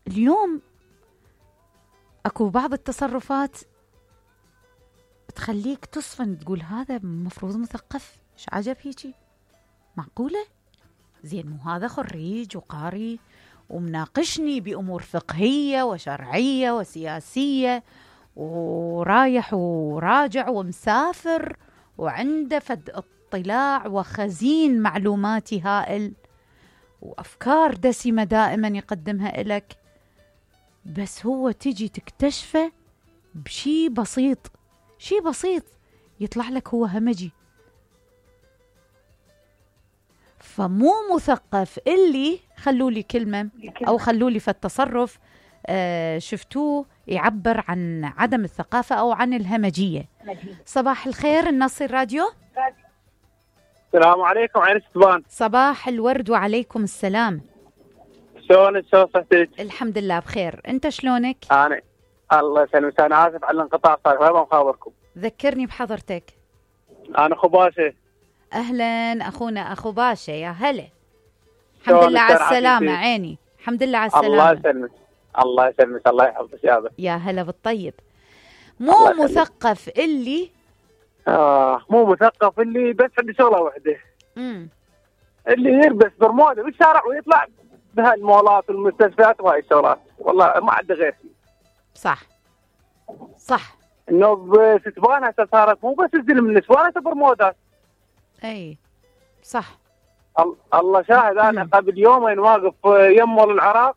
اليوم اكو بعض التصرفات تخليك تصفن، تقول هذا مفروض مثقف، ايش عجب هيجي؟ معقولة؟ زين مو هذا خريج وقاري ومناقشني بأمور فقهية وشرعية وسياسية ورايح وراجع ومسافر وعنده فد اطلاع وخزين معلوماتي هائل وأفكار دسمة دائما يقدمها إلك، بس هو تجي تكتشفه بشي بسيط، شي بسيط يطلع لك هو همجي. فمو مثقف اللي خلوا لي كلمة أو خلوا لي في التصرف شفتوه يعبر عن عدم الثقافة أو عن الهمجية. صباح الخير النصر راديو. السلام عليكم عين ستبان. صباح الورد وعليكم السلام. شلونك؟ شلون صحتك؟ الحمد لله بخير، أنت شلونك؟ أنا الله يسلمك، أنا آسف على الانقطاع، صار ما مخابركم. ذكرني بحضرتك. أنا أخو باشا. أهلا أخونا أخو باشا، يا هلا. الحمد لله على السلامة عيني، الحمد لله على السلامة. الله يسلمك الله يسلمك، الله يحفظك يابا. يا هلا بالطيب. مو مثقف اللي مو مثقف اللي بس عنده شغلة واحدة، اللي يلبس برموده بالشارع ويطلع بهالمولات والمستشفيات وهاي الشغلات، والله ما عنده غير شيء. صح صح. انه بستبان هسه صارت مو بس تزلم النسوان، هسه برمودات. اي صح. الله شاهد، انا قبل يومين واقف يم مول العراق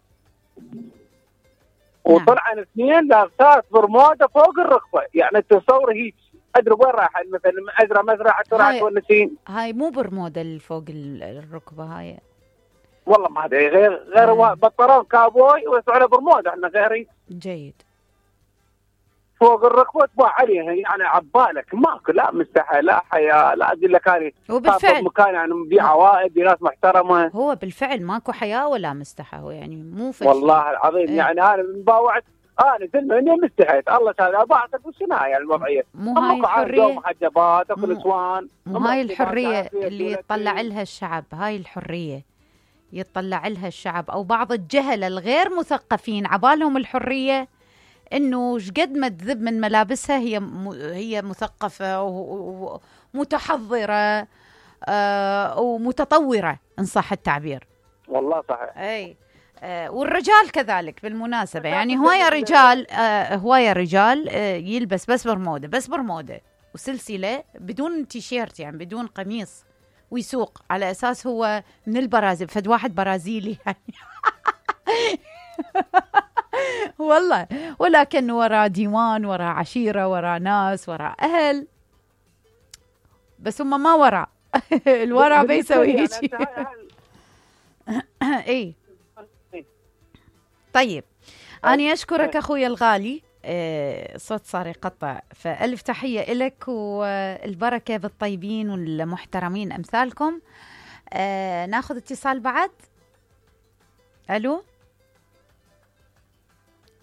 وطلعن اثنين لابسات برموده فوق الركبه، يعني تصور هيك ادري وين رايحه، مثلا ازرع مزرعه راح تونسين. هاي مو برموده اللي فوق الركبه هاي، والله ما ادري، غير بطلون كابوي ويسووا برموده، احنا غيري. جيد. فوق الركبه تباع عليها، يعني عبالك ماكو لا مستحى لا حياه، لا اقول لك هذه وبالفعل مكان يعني نبيع عوائد ناس محترمه. هو بالفعل ماكو حياه ولا مستحى، هو يعني مو فشل. والله العظيم يعني انا مباوعت، انا زلمه اني مستحيت الله تعالى بعتك وشنو يعني الموضوعيه. مو هاي الحريه، محجبات اكو نسوان، مو هاي الحريه اللي يطلع لها الشعب، هاي الحريه يطلع لها الشعب او بعض الجهله الغير مثقفين عبالهم الحريه انه شقد ما تذب من ملابسها هي مثقفه ومتحضره ومتطوره ان صح التعبير. والله صحيح. اي والرجال كذلك بالمناسبه، يعني هوايه رجال يلبس بس برموده وسلسله بدون تيشيرت، يعني بدون قميص، ويسوق على اساس هو من البرازيل، فد واحد برازيلي يعني والله، ولكن وراء ديوان، وراء عشيرة، وراء ناس، وراء أهل، بس هم ما وراء الوراء بيسوي هيك. اي طيب، أنا أشكرك أخوي الغالي، صوت صار يقطع، فألف تحية إلك والبركة بالطيبين والمحترمين أمثالكم. ناخذ اتصال بعد. ألو.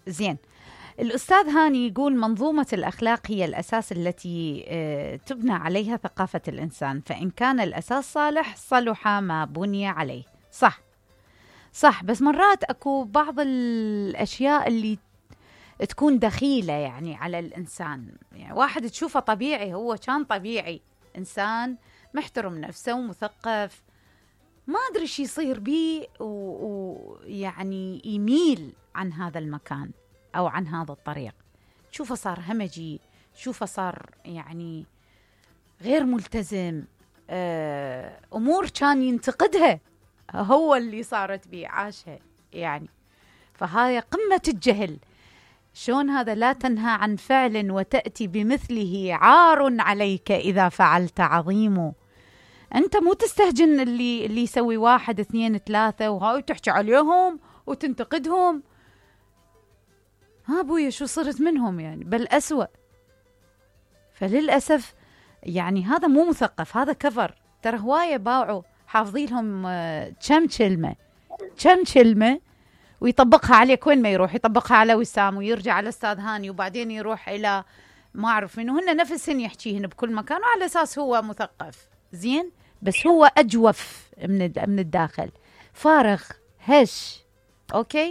زين، الأستاذ هاني يقول منظومة الأخلاق هي الأساس التي تبنى عليها ثقافة الإنسان، فإن كان الأساس صالح صلح ما بني عليه. صح، بس مرات أكو بعض الأشياء اللي تكون دخيلة يعني على الإنسان، يعني واحد تشوفه طبيعي، هو كان طبيعي إنسان محترم نفسه ومثقف، ما أدري شو يصير بيه ويعني يميل عن هذا المكان أو عن هذا الطريق، شوفه صار همجي، شوفه صار يعني غير ملتزم، أمور كان ينتقدها هو اللي صارت بيه عاشها يعني. فهاي قمة الجهل. شون هذا؟ لا تنهى عن فعل وتأتي بمثله، عار عليك إذا فعلت عظيم. أنت مو تستهجن اللي يسوي 1 2 3 وهاي تحكي عليهم وتنتقدهم. ها أبويا شو صرت منهم يعني، بل أسوأ. فللأسف يعني هذا مو مثقف، هذا كفر. ترى هواية باعوا حافظين لهم كم كلمة ويطبقها عليك، وين ما يروح يطبقها على وسام ويرجع على أستاذ هاني وبعدين يروح إلى ما أعرف منه، هن نفسهن يحكيهن بكل مكان وعلى أساس هو مثقف زين، بس هو أجوف من الداخل، فارغ هش. أوكي،